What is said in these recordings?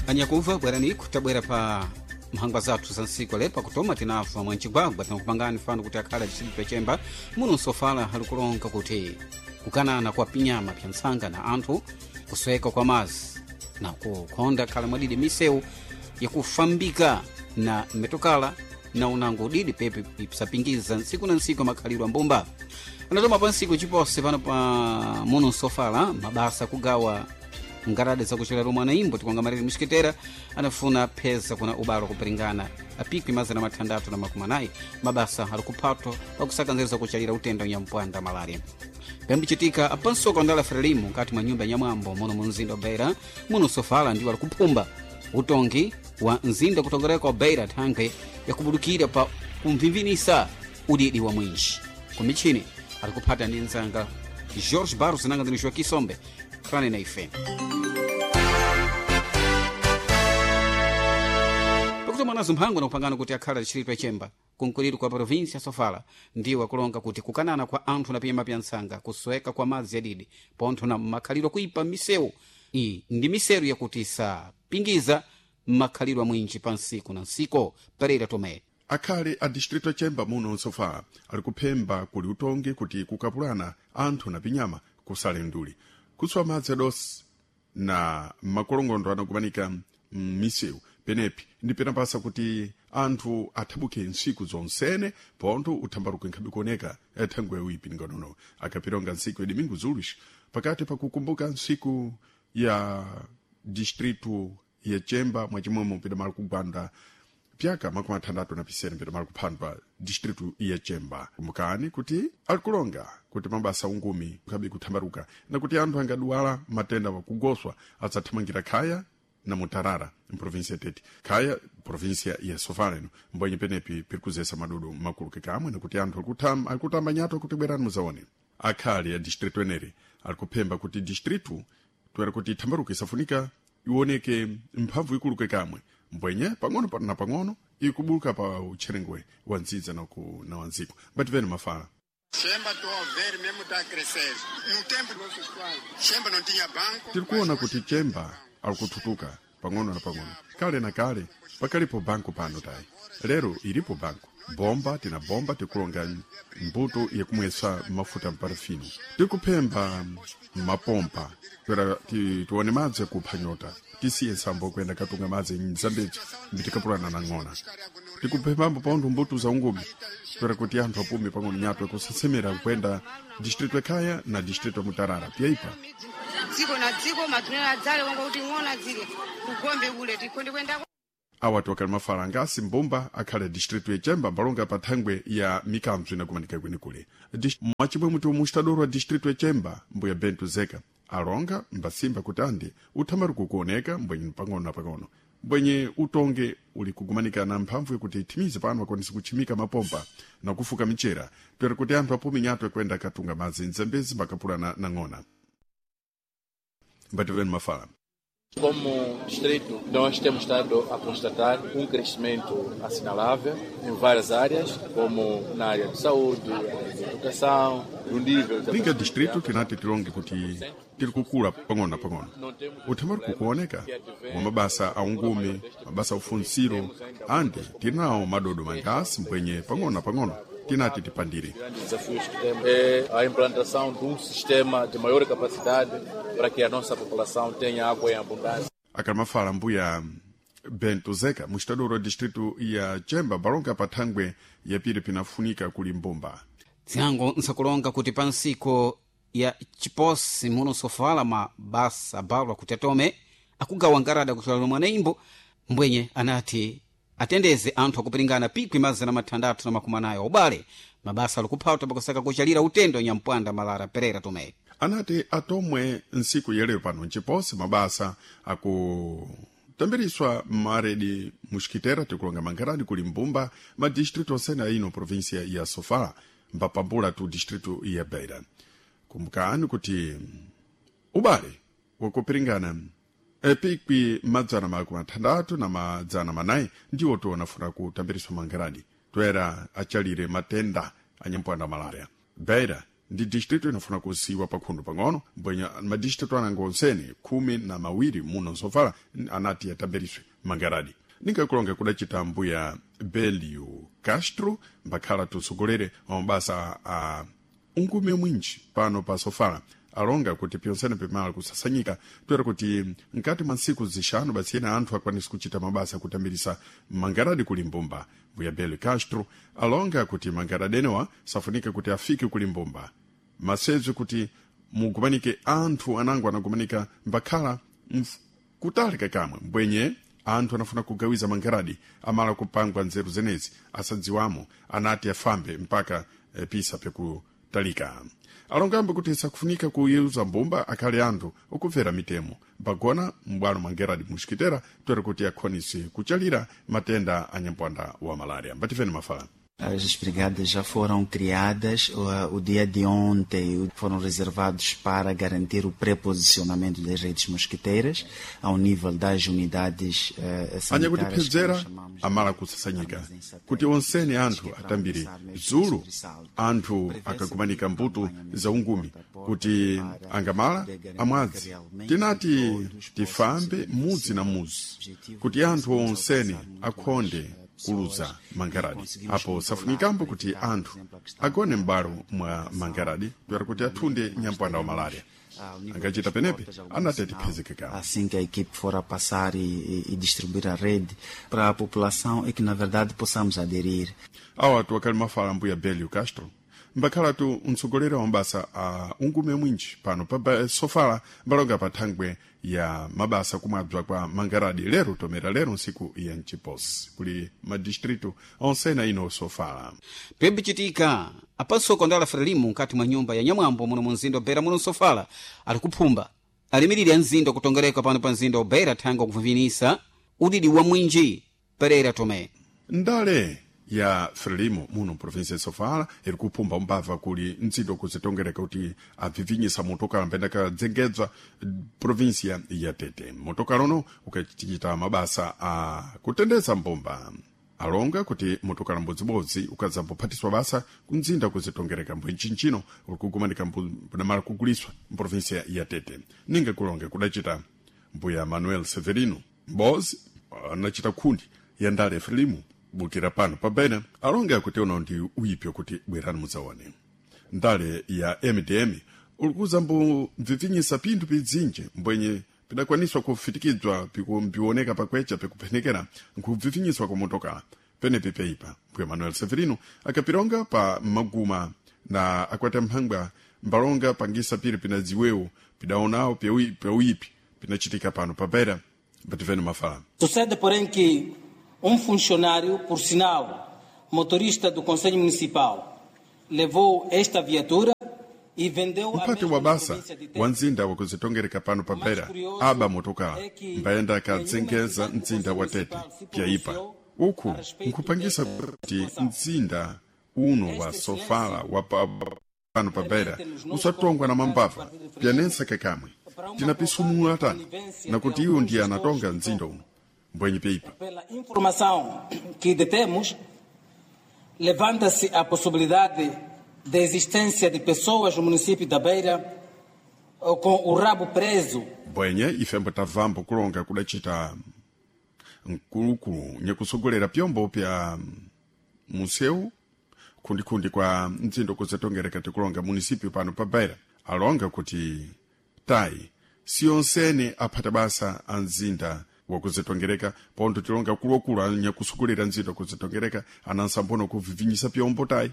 Anyakuva bwerani kutabwera pa mphangwa zathu za ntsiku lepa kutoma tinafa mwancigwagwa tinakupangani fano kuti akhale distritu yachemba muno nsofala alikulonga kuti kukanana kwa pinyama pya ntsanga na anthu, kusweka kwa mazi na kukhonda khala mwadidi misewu yakufambika na mitokala na unango udidi pepe ipsapingiza ntsiku na ntsiku makhalidwe ambumba. Anatoma pa ntsiku chipose pano pa muno nsofala mabasa kugawa ngarade zakuchera romwe anaimbo tikonga muxikitera anafuna pheza kuna ubalo kupiringana apikwi 640 mabasa ali kuphatwa pakusaka nzeru zakuchalira utenda unyampwanda malaria. Pembichitika apansoka ndala Frelimu nkati mwa nyumba ya nyamwambo muno mu mzinda wa Beira muno sofala ndiwo ali kuphumba utongi wa mzinda kutongereka wa Beira thangwe yakubudukira pa kumvimvinisa udidi wa mwinji kumichini ali kuphata ndi nzanga George Barros nanga ndini Joaquim Sombe khalani na ife. Pakuti mwanazo mphango nakupangana kuti akhala distritu yachemba kunkuliro kwa provinsi ya Sofala ndiwo akulonga kuti kukanana kwa anthu na pinyama pya ntsanga, kusweka kwa madzi yadidi pontho na makhalidwe akuipa misewu iyi ndi miseru yakuti isapingiza makhalidwe amwinji pa nsiku na nsiko. Pereira Tomé. Akhale a distrito achemba muno nsofala ali kuphemba kuli utongi kuti kukapulana anthu na pinyama kusale nduli kuswa madzi adosi na makolongondo anakumanika m'misewu penepi ndi penapasa kuti anthu athabuke ntsiku zonsene pontho uthambaruke nkhabe kuoneka thangwe uipi ngonono akapironga ntsiku ya domingo zulis pakati pakukumbuka ntsiku ya distrito ya chemba mwachimwemo pidamala kugwanda pyaka 67 pidamala kuphandwa distritu ya chemba. Kumbukani kuti alikulonga kuti mabasa ungumi nkhabe kuthambaruka na kuti anthu angaduwala matenda wakugoswa adzathamangira khaya na mutarara mprovinsia tete khaya provinsia ya Sofala ino mbwenye penepi piri kuzesa madudu makulu kekamwe nakuti anthu alikutamba nyato kuti bwerani muzaone. Akhale ya distrito eneri alikuphemba kuti distritu toera kuti ithambaruke isafunika ioneke mphamvu ikulu kekamwe mbwenye pang'ono na pang'ono ikubuluka pa utcherengwe wa ndzidza na wandziko mbativene mafala. Chemba to ver mesmo tá crescendo. No tempo nosso Chemba não tinha banco. Tiri kuona kuti Chemba alikututuka pang'ono na pang'ono. Kale na kale pakalipo banku pano tayi. Lero ilipo banku. Bomba tina bomba tikulonga mbuto yakumwesa mafuta mparafino. Tikuphemba mapompa kwera tione madzi akupha nyota. Tisiye nsambo kuyenda katunga madzi mzambezi mbitikapulana na ng'ona. Tikuphembambo pontho mbuto za ungumi kwera kuti anthu apume pang'ono nyato kusasemera kuyenda distrito ekhaya na distrito Mutarara pyaipa. Dziko na dziko matunena adzale wonga kuti ng'ona zile kugombe kule tikhonde kuyenda. Awatu akali mafala angasi mbumba akhale distritu yachemba mbalonga pa thangwe ya mikanzo inakumanika kwenikule. Mwachimwemwe ti mustadoro wa distritu yachemba mbuya Bento Zeka alonga mbasimba kuti andi uthambaruko kuoneka mbwenye pang'ono na pang'ono mbwenye utonge uli kugumanika na mphamvu yakuti ithimize pano akwanise kutchimika mapompa na kufuka michera toera kuti anthu apume nyato yakuenda katunga madzi mzambezi mbakapulana na ng'ona. Mbativeni mafala. Como distrito, nós temos estado a constatar um crescimento assinalável em várias áreas, como na área de saúde, área de educação, no nível... Linga distrito tinati tilonge kuti tiri kukula pang'ono na pang'ono. Uthambaruko kuoneka wa mabasa a ungumi, mabasa a ufunsiro, andi tinawo madodo mangasi mbwenye pang'ono na pang'ono tinati tipandire. Desafios que temos é a implantação de um sistema de maior capacidade para que a nossa população tenha água em abundância. Akamafala mbuya Bento Zeka, mustadoro wa distrito ya Chemba balonga pa thangwe yapiri pinafunika kuli mbumba. Tsinango nsakulonga kuti pa ntsiko ya chiposi muno sofala mabasa abalwa kuti atome akugawa ngarada kuchola lomwe anaimbo mbwenye anati atendeze anthu akupiringana pikwi 640 ubale mabasa alikuphata pakusaka kuchalira utendo nyampwanda malara. Pereira Tomé anati atomwe ntsiku yelero pano ncipose mabasa akutambiriswa maredi muxikitera tikulonga mangarani kuli mbumba ma distrito osene aino província ya Sofala mbapambula tu distrito ya Beira. Kumbukani kuti ubale wakupiringana epikwi 664 ndiwo tionafuna kutambiriswa mangarani toera achalire matenda anyampwanda malaria. Beira Ndi distrito inafuna kusiwa pakhundu pang'ono, mbwenya madistrito anango onsene 12 muno nsofala anati atamberiswe mangaradi. Ningakulonga kudacita mbuya Belio Castro, mbakhala tusogolere wa mabasa a ungume mwinji pano pa Sofala, alonga kuti pyonsene pimala kusasanyika toera kuti mkati mwa ntsiku zixanu basi ena anthu akwanise kuchita mabasa kutambirisa mangaradi kuli mbumba. Mbuya Belio Castro alonga kuti mangaradi enewa safunika kuti afike kuli mbumba masebzi kuti mugumanike anthu anango anagumanika mbakhala kutali kakamwe, mbwenye anthu anafuna kugawiza mangaradi amala kupangwa nzeru zenezi asadziwamo anati afambe mpaka pisa pyakutalika. Alongambe kuti sakufunika kuyeuza mbumba akhale anthu okumvera mitemo mpagona m'bwalo mangeradi muxikitera toera kuti akhonise kuchalira matenda a nyampwanda wa malaria. Mbatifeni mafala. As brigadas já foram criadas o dia de ontem, foram reservados para garantir o preposicionamento das redes mosquiteiras ao nível das unidades Anya kuti sanitárias que phedzera nós chamamos de amala kusasanyika armazéns kuti satélites, onsene anthu que é para atambire alcançar mesmo zulu sobressalto. anthu Prevê-se akagumanika que mbuto acompanhamento za ungumi porta a porta kuti para angamala poder garantir amwadzi. que realmente Tinati todos possam tifambe se mudzi na beneficiar. mudzi Objetivo kuti é anthu conseguirmos onsene alcançar muito akhonde mais, pessoas kuluza e mangaradi. conseguimos Apo controlar safunikambo para kuti evitar, por anthu exemplo, a questão agone da m'bwalo mwa alimentação, mangaradi toera kuti athunde nós nyampwanda wa teremos, malaria. ao nível Angachita das penepe portas, algum anati sinal, atiphezekekamo. assim que a equipe for a passar e distribuir a rede para a população e que, na verdade, possamos aderir. Awa atu akali mafala mbuya Belio Castro, mbakhalatu mtsogoleri wa mabasa a ungume mwinji pano pa Sofala, mbalonga pa thangwe ya mabasa kumwabzwa kwa mangaradi lero tomera lero nsiku ya mchiposi kuli madistritu onsena ino Sofala. Pebicitika apansoko ndala Frelimu nkati mwa nyumba ya nyamwambo muno mu mzinda wa Beira muno Nsofala ali kuphumba alimiriri a mzinda kutongereka pano pa mzinda wa Beira thanga kuvivinisa udidi wa mwinji. Pereira Tomé. Ndale ya Frelimo muno provinsia ya Sofala iri kuphumba umbava kuli mtsindo kuzitongereka kuti abvivinyisa motokala mbenda kadzengedzwa provinsia ya Tete. Motokala uno ukachita mabasa a kutendeza mbumba. Alonga kuti motokala mbodzibodzi ukadzambophatiswa basa kumzinda kuzitongereka mbwenchinchino uri kugumanika mbunamala kuguliswa mprovinsia ya Tete. Ninga kulonge kudacita mbuya Manuel Severino Mbozi anachita khundi ya ndale Frelimo bukira pano pabena alonge akuti uno ndi uyipyo kuti bwerani mudzaone. Ndale ya MDM ulikuza mbu mvivinyisa pinthu pidzinje mbwenye pidakwaniswa kufitikidzwa pikumbioneka pakwecha pikuphenekera nkubvivinyiswa kwa motokala penepi peipa. Mbuya Manuel Severino akapilonga pa maguma na akwata mphangwa mbalonga pangisa pili pinadziwewo pidaonawo pyauyipi pinachitika pano pabera. Mbativeni mafala. Sucede, porém, que funcionário, por sinal, motorista do Conselho Municipal, levou esta viatura e vendeu a Mphati mesma wa na basa província de Tete. wa mzinda wakuzitongereka pano pa O mais Beira curioso aba motokala é que mbayenda nenhuma akadzengeza entidade do mzinda Conselho wa Tete Municipal se pyaipa pronunciou uku a respeito nkhupangisa desta kuti situação. mzinda uno wa Este Sofala silêncio wa pano pa Beira permite-nos não usatongwa na convocar o mambava Partido Frelimo pyanensa kakamwe para uma tinapisumula provável tani conivência nakuti de iwo alguns ndiye anatonga gestores do mzinda uno mbwenye peipa. Pela informação que detemos, levanta-se a possibilidade da existência de pessoas no município da Beira com o rabo preso. Mbwenye ifembo tabvambo kulonga kudacita mkulukulu nyakusogolera pyombo pya museu khundikhundi kwa mtsindo kuzitongereka tikulonga munisipyu pano pa Beira alonga kuti tayi siyonsene aphata basa a mzinda wakuzitongereka pontho tilonga kulokulu anyakusogolera mzinda wakuzitongereka anansambono kuvivinyisa pyombo tayi.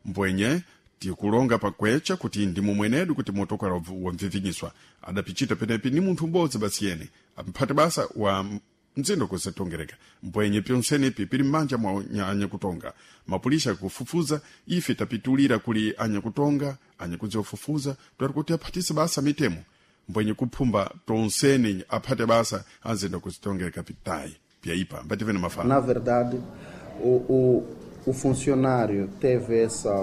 Mbwenye tikulonga pakwecha kuti ndi mumwenedu kuti motokala wamvivinyiswa adapichita penepi ni munthu m'bodzi basi yene amphate basa wa mzindo kuzitongereka. Mbwenye pyonsenepi pili m'manja mwa anyakutonga mapulisha kufufuza. Ife tapitulira kuli anyakutonga anyakudziwafufuza twati kuti aphatise basa mitemo mbwenye kuphumba tonsene aphate basa anzinda kuzitongereka pitayi pyaipa. Mbativene mafala. Na verdade, o funcionário teve essa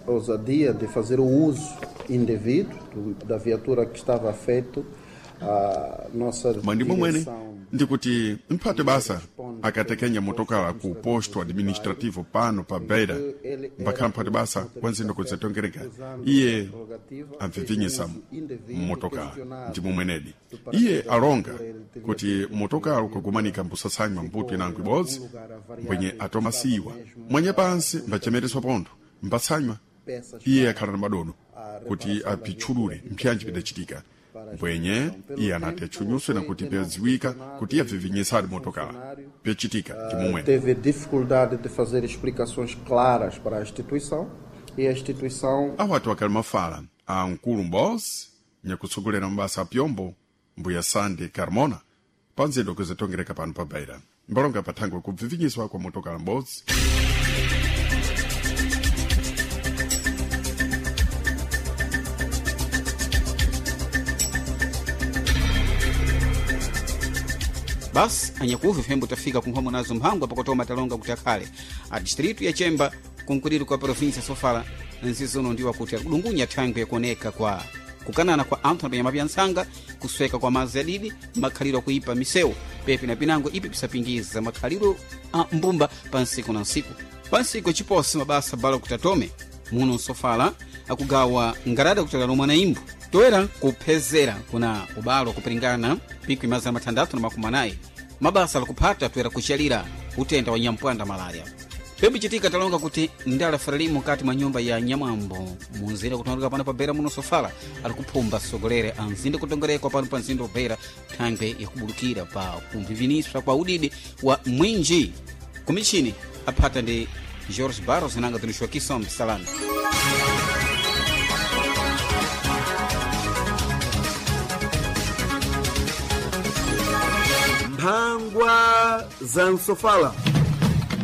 ousadia de fazer o uso indevido da viatura que estava feito A nossa Mwandimo mwene direção ndikuti mphate basa akatekenya motokala ku posto administrativo pano pa Beira, mbakhala mphate basa wa nzindo kuzitongereka iye amvivinyisa motokala. Ndimo mwenedi iye alonga kuti motokala ukagumanika mbusasanywa mbuto inango ibodzi mbwenye atomasiwa mwenye pansi mbachemereswa pontho mbatsanywa. Iye akhala na madodo kuti apitchulule mpyanji pidachitika, mbwenye iye anati atchunyuswe nakuti pyadziwika kuti iye avivinyisadi motokala pyachitika ndimomwene. Teve dificuldade de fazer explicações claras para a instituição e a instituição Awatu akali mafala a mkulu m'bodzi nyakutsogolera mabasa a pyombo, mbuya Sande Carmona, pa nzedo kuzitongereka pano pa Beira, mbalonga pathangwe kubvivinyiswa kwa motokala m'bodzi. Basi anyakuvi fembo tafika kunkhomo nazo mphangwa pakutoma talonga kuti akhale a distritu ya Chemba kunkuliro kwa provinsia Sofala nzizono ndiwa kuti akudungunya thangwe yakuoneka kwa kukanana kwa anthu na panyama ntsanga, kusweka kwa madzi adidi, makhaliro akuipa misewu pepi na pinango ipi pisapingiza makhaliro a mbumba pa nsiku na nsiku. Pa nsiku chiposi mabasa bala kuti atome muno Nsofala akugawa ngarada kutala lomwe na imbo toera kuphezera kuna ubalo kupiringana pikwi 640 mabasa alikuphata toera kuchalira utenda wa nyampwanda malaria. Pembe chitika talonga kuti ndala frelimu kati mwa nyumba ya nyamwambo munzira kutongereka pano pa Beira muno Sofala alikuphumba sogolere anzinde kutongerekwa pano pa nzindo Beira thangwe yakubulukira pa kumviviniswa kwa udidi wa mwinji kumichini aphata ndi George Barros nanga tunishwa Kisombe Salami. Mphangwa za Nsofala.